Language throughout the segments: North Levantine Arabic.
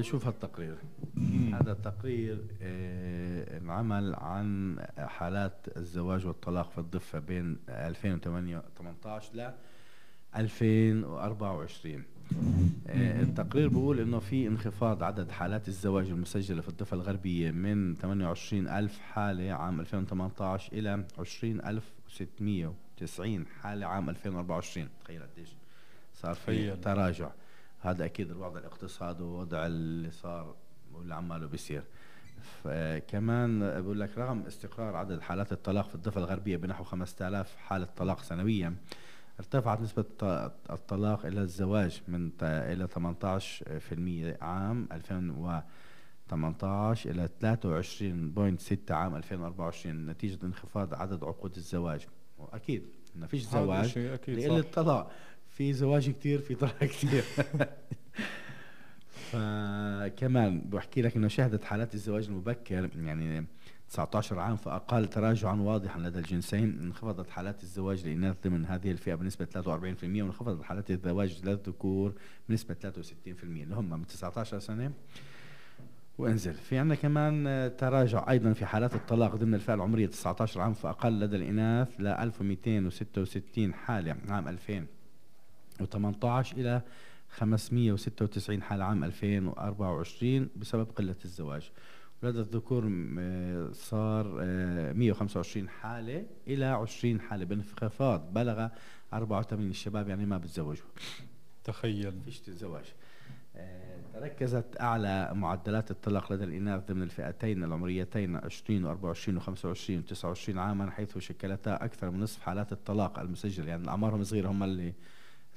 شوف هالتقرير. هذا التقرير انعمل عن حالات الزواج والطلاق في الضفة بين 2018 ل 2024. التقرير بيقول انه في انخفاض عدد حالات الزواج المسجلة في الضفة الغربية من 28,000 حالة عام 2018 الى 20,690 حالة عام 2024. تخيل قديش صار في تراجع. هذا اكيد الوضع الاقتصادي ووضع اللي صار واللي عماله بيصير. كمان بقول لك رغم استقرار عدد حالات الطلاق في الضفة الغربية بنحو 5000 حالة طلاق سنويا، ارتفعت نسبة الطلاق إلى الزواج من إلى 18% عام 2018 إلى 23.6 عام 2024 نتيجة انخفاض عدد عقود الزواج. وأكيد ما فيش زواج لقلة الطلاق، في زواج كتير في طلاق كتير. فكمان بحكي لك انه شهدت حالات الزواج المبكر يعني 19 عام فأقل تراجعا واضحا لدى الجنسين. انخفضت حالات الزواج للإناث ضمن هذه الفئة بنسبة 43%، وانخفضت حالات الزواج للذكور بنسبة 63% اللي هم من 19 سنة وانزل. في عندنا كمان تراجع أيضا في حالات الطلاق ضمن الفئة العمرية 19 عام فأقل لدى الإناث ل 1266 حالة عام 2018 إلى 596 حالة عام 2024 بسبب قلة الزواج. ولدى الذكور صار 125 حالة إلى 20 حالة بانخفاض بلغ 84. الشباب يعني ما بتزوجوا، تخيل فيش الزواج. تركزت أعلى معدلات الطلاق لدى الإناث ضمن الفئتين العمريتين 20 و24 و25 و29 عاما، حيث شكلتا أكثر من نصف حالات الطلاق المسجلة. يعني أعمارهم صغيرة هم اللي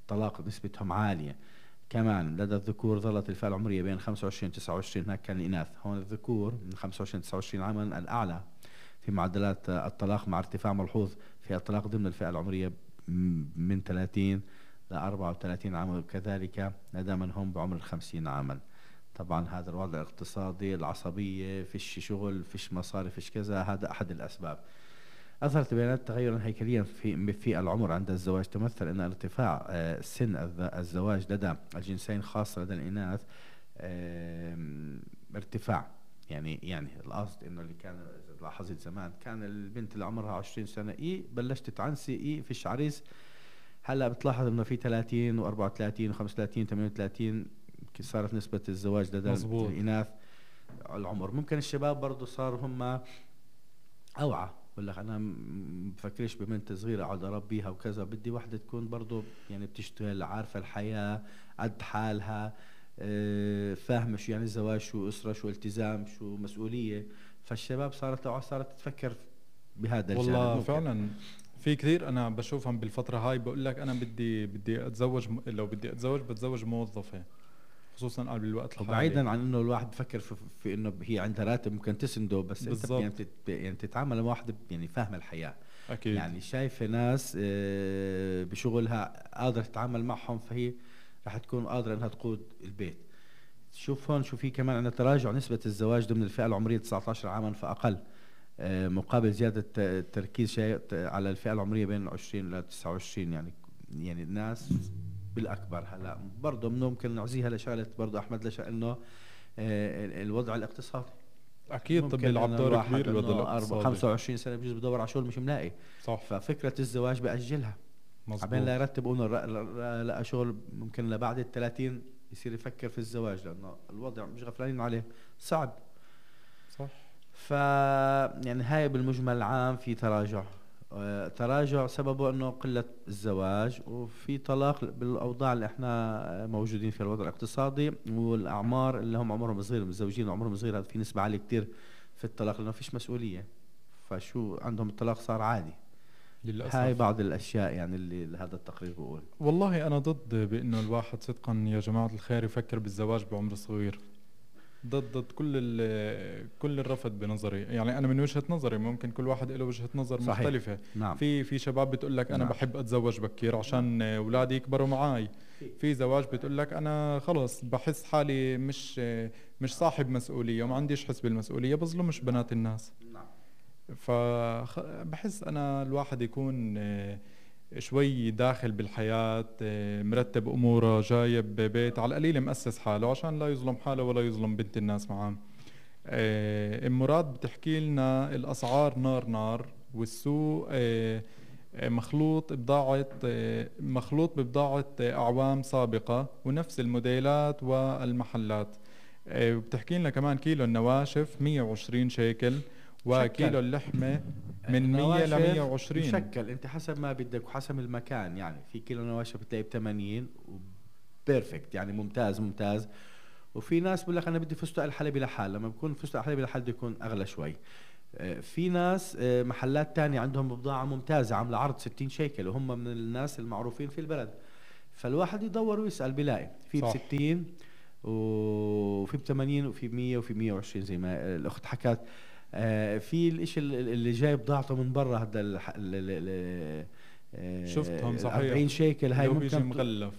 الطلاق نسبتهم عالية. كمان لدى الذكور ظلت الفئة العمرية بين 25 و 29، هناك كان الإناث. هون الذكور من 25 ل 29 عاما الأعلى في معدلات الطلاق، مع ارتفاع ملحوظ في الطلاق ضمن الفئة العمرية من 30 ل 34 عاما، وكذلك لدى من هم بعمر 50 عاما. طبعا هذا الوضع الاقتصادي، العصبية، فيش شغل، فيش مصاري، فيش كذا، هذا أحد الأسباب. أظهرت بيانات تغيرا هيكليا في العمر عند الزواج، تمثل أن ارتفاع سن الزواج لدى الجنسين خاصة لدى الإناث ارتفاع. يعني القصد إنه اللي كان لاحظت زمان كان البنت اللي عمرها 20 سنة بلشت تعنسي فيش عريس. هلا بتلاحظ إنه في 30 و34 و35 38 صارت نسبة الزواج لدى الإناث العمر. ممكن الشباب برضو صار هم أوعى، بقول لك انا بفكرش ببنت صغيره اقعد اربيها وكذا، بدي وحده تكون برضو يعني بتشتغل، عارفه الحياه، قد حالها، فاهمه شو يعني الزواج، شو اسره، شو التزام، شو مسؤوليه. فالشباب صارت تفكر بهذا الجانب. والله فعلا في كثير انا بشوفهم بالفتره هاي بقول لك انا بدي اتزوج، لو بدي اتزوج بتزوج موظفه، خصوصا قبل الوقت الحالي. بعيدا عن انه الواحد بفكر في انه هي عندها راتب ممكن تسنده، بس بالزبط. انت يعني تتعامل مع واحد يعني فاهم الحياه أكيد. يعني شايفه ناس بشغلها قادره تتعامل معهم، فهي رح تكون قادره انها تقود البيت. شوف هون شو في كمان عندنا تراجع نسبه الزواج ضمن الفئه العمريه 19 عاما فاقل، مقابل زياده التركيز شيء على الفئه العمريه بين 20 ل 29. يعني الناس بالاكبر. هلا برضه ممكن نعزيها لشغله برضه احمد انه الوضع الاقتصادي اكيد. طب بيلعب دور كبير الوضع الاقتصادي. 25 سنه بجوز بدور على شغل مش ملاقي، صح. ففكره الزواج باجلها عبين لا يرتب لقى شغل، ممكن لبعد ال 30 يصير يفكر في الزواج، لانه الوضع مش غفلانين عليه صعب. صح. يعني هاي بالمجمل العام في تراجع سببه انه قلة الزواج، وفي طلاق بالاوضاع اللي احنا موجودين فيها، الوضع الاقتصادي والاعمار اللي هم عمرهم صغير، متزوجين عمرهم صغير، هذا في نسبة عالية كتير في الطلاق لانه فيش مسؤولية، فشو عندهم الطلاق صار عادي للأسف. هاي بعض الاشياء يعني اللي هذا التقرير بيقول. والله انا ضد بانه الواحد صدقا يا جماعة الخير يفكر بالزواج بعمر صغير، ضد كل الرفض بنظري. يعني انا من وجهة نظري، ممكن كل واحد له وجهة نظر صحيح. مختلفة. نعم. في شباب بتقول لك انا بحب اتزوج بكير عشان اولادي يكبروا معاي. في زواج بتقول لك انا خلص بحس حالي مش صاحب مسؤولية وما عنديش حس بالمسؤولية، بظلمش بنات الناس. فبحس انا الواحد يكون شوي داخل بالحياة، مرتب أموره، جايب بيت على القليل، مؤسس حاله عشان لا يظلم حاله ولا يظلم بنت الناس معاه. ام مراد بتحكي لنا الأسعار نار نار، والسوق مخلوط ببضاعة أعوام سابقة ونفس الموديلات والمحلات. وبتحكي لنا كمان كيلو النواشف 120 شيكل، وكيلو اللحمة من 100 ل 120. مشكل، انت حسب ما بدك وحسب المكان. يعني في كيلو نواشف بتلاقي ب80 وبيرفكت، يعني ممتاز ممتاز. وفي ناس بقول لك انا بدي فستق الحلبي لحال، لما بكون فستق الحلبي لحال بده يكون اغلى شوي. في ناس محلات تانية عندهم بضاعة ممتازة عاملة عرض 60 شيكل، وهم من الناس المعروفين في البلد. فالواحد يدور ويسأل بيلاقي في ب60 وفي ب80 وفي ب100 وفي 120 زي ما الأخت حكت. في الاشي اللي جاي بضاعته من برا، هذا شفتهم صحيح 40 شيكل هاي ممكن ممكن مغلف